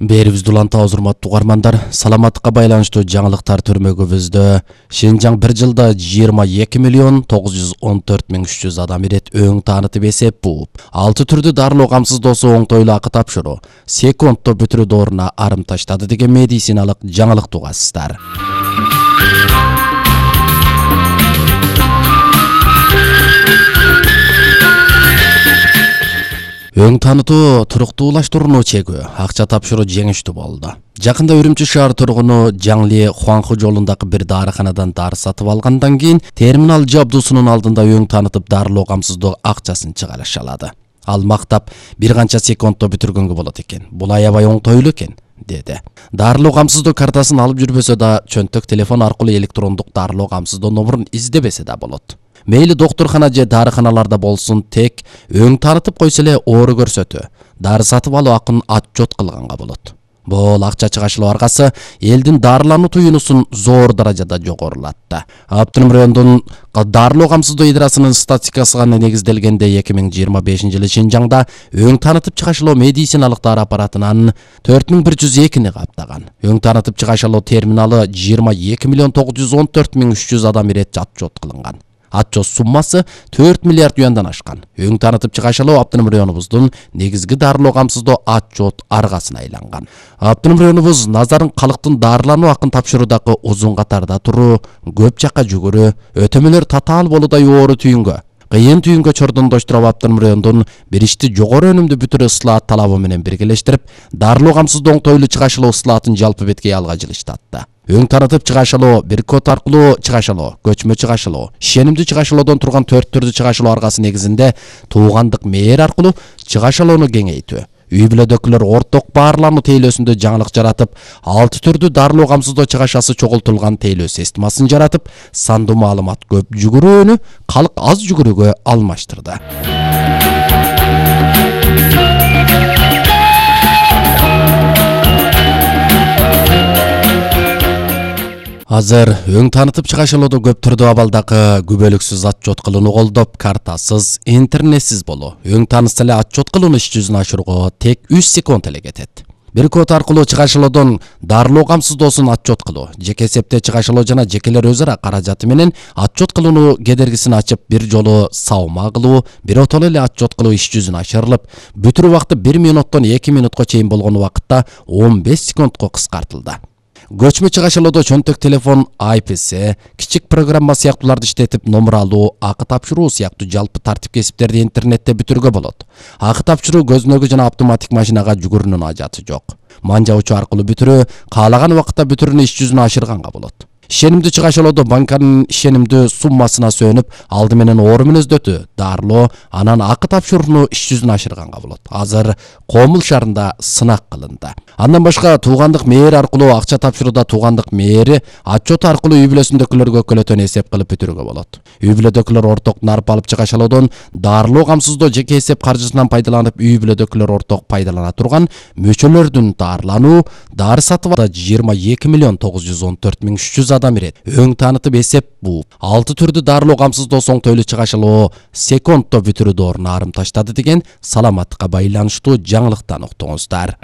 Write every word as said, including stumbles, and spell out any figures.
Берибизди улантабыз, урматтуу угармандар. Саламаттыкка байланыштуу жаңылыктар түрмөгүбүздө Шинжаң бир жылда жыйырма эки миллион тогуз жүз он төрт миң үч жүз адам ирет өң таанытып эсеп бууп, алты түрдүү дарылоо камсыздоосу оңтойлуу акы тапшыруу, секундто бүтүрүү дооруна арым таштады деген медициналык жаңылык угасыздар. Өң таанытуу туруктуулаштырууну чегүү, акча тапшыруу жеңиштүү болду. Жакында Үрүмчү шаар тургуну Жаңли Хуанху жолундагы бир дарыканадан дары сатып алгандан кийин терминал жабдуусунун алдында өң таанытып дарылоо камсыздоо акчасын чыгарышалады. Ал мактап бир канча секундто бүтүргөнгө болот экен. Бул аябай оңтойлуу экен, деди. Дарылоо камсыздоо картасын алып жүрбөсө да, чөнтөк телефон аркылуу электрондук дарылоо камсыздоо номурун издебесе да болот. Мейли доктурхана же дарыканаларда болсун, тек өң таанытып койсо эле оору көрсөтүү, дары сатып алуу акын отчет кылганга болот. Бул акча чыгашылоо аркасы элдин дарылануу туюнусун зор даражада жогорулатты. Автоном райондун дарылоо камсыздоо идарасынын статистикасына негизделгенде эки миң жыйырма бешинчи жылы Шинжаңда өң таанытып чыгашылоо медициналык дары аппаратынан төрт миң бир жүз экини каптаган. Өң таанытып чыгашылоо терминалы жыйырма эки миллион тогуз жүз он төрт миң үч жүз адам ирет отчет кылынган. Отчет суммасы төрт миллиард юандан ашкан. Өң таанытып чыгашылоо автоном районубуздун негизги дарылоо камсыздоо отчет аргасына айланган. Автоном районубуз назарын калктын дарылануу акын тапшыруудагы узун катарда туруу, көп жакка жүгүрүү, өтөмөлөр татаал болуудай оору түйүнгө, кыйын түйүнгө чордондоштуруп автоном райондун бир ишти жогору өнүмдүү бүтүрүү ыслаат талабы менен биргелештирип, дарылоо камсыздоо оңтойлуу чыгашылоо ыслаатын жалпы бетке алга жылыштатты. Өң таанытып чыгашылоо, бир код аркылуу чыгашылоо, көчмө чыгашылоо, ишенимдүү чыгашылоодон турган төрт түрдүү чыгашылоо аргасы негизинде туугандык мээр аркылуу чыгашылоону кеңейтүү, үй бүлөдөгүлөр орток баарлануу тейлөөсүндө жаңылык жаратып, алты түрдүү дарылоо камсыздоо чыгашасы чогултулган тейлөө системасын жаратып, сандуу маалымат көп жүгүрүүнү калк аз жүгүрүүгө алмаштырды. Азыр өң таанытып чыгашылоодо көп түрдүү абалдагы күбөлүксүз отчет кылууну колдоп, картасыз, интернетсиз болуу, өң таанытса эле отчет кылууну иш жүзүнө ашырууга тек үч секунд эле кетет. Бир код аркылуу чыгашылоодон дарылоо камсыздоосун отчет кылуу, жеке эсепте чыгашылоо жана жекелер өз ара каражаты менен отчет кылууну кедергисин ачып, бир жолу саума кылуу, бир отоло эле отчет кылуу иш жүзүнө ашырылып, бүтүрүү убакыты бир минуттон эки минутка чейин болгон убакытта он беш секундко кыскартылды. Көчмө чыгашылоодо чөнтөк телефон, ай пи эс, кичик программа сыяктууларды иштетип, номер алуу, акы тапшыруу сыяктуу жалпы тартип кесиптерди интернетте бүтүрүүгө болот. Акы тапшыруу көзүнөгү жана автоматик машинага жүгүрүүнүн ажаты жок. Манжабычу аркылуу бүтүрүү, каалаган убакытта бүтүрүүнү иш жүзүнө ашырганга болот. Ишенимдүү чыгашылоодо банканын ишенимдүү суммасына сөнүп, алды менен оору мүнөздөтүү, дарылоо, анан акы тапшырууну иш жүзүнө ашырганга болот. Азыр Комул шаарында сынак кылынды. Андан башка туугандык мээр аркылуу акча тапшырууда туугандык мээри отчет аркылуу үй бүлөсүндөгүлөргө көлөтөн эсеп кылып бүтүрүүгө болот. Үй бүлөдөгүлөр орток нарп алып чыгашылоодон дарылоо камсыздоо жеке эсеп каржысынан пайдаланып, үй бүлөдөгүлөр орток пайдалана турган мөчөлөрдүн дарылануу, дары сатып алууда жыйырма эки миллион тогуз жүз он төрт миң үч жүз адам ирет. Өң таанытып эсеп бууп, алты түрдүү дарылоо камсыздоосу оңтойлуу чыгашылоо секундто бүтүрүү дооруна арым таштады деген саламаттыкка байланыштуу жаңылыктан уктуңуздар.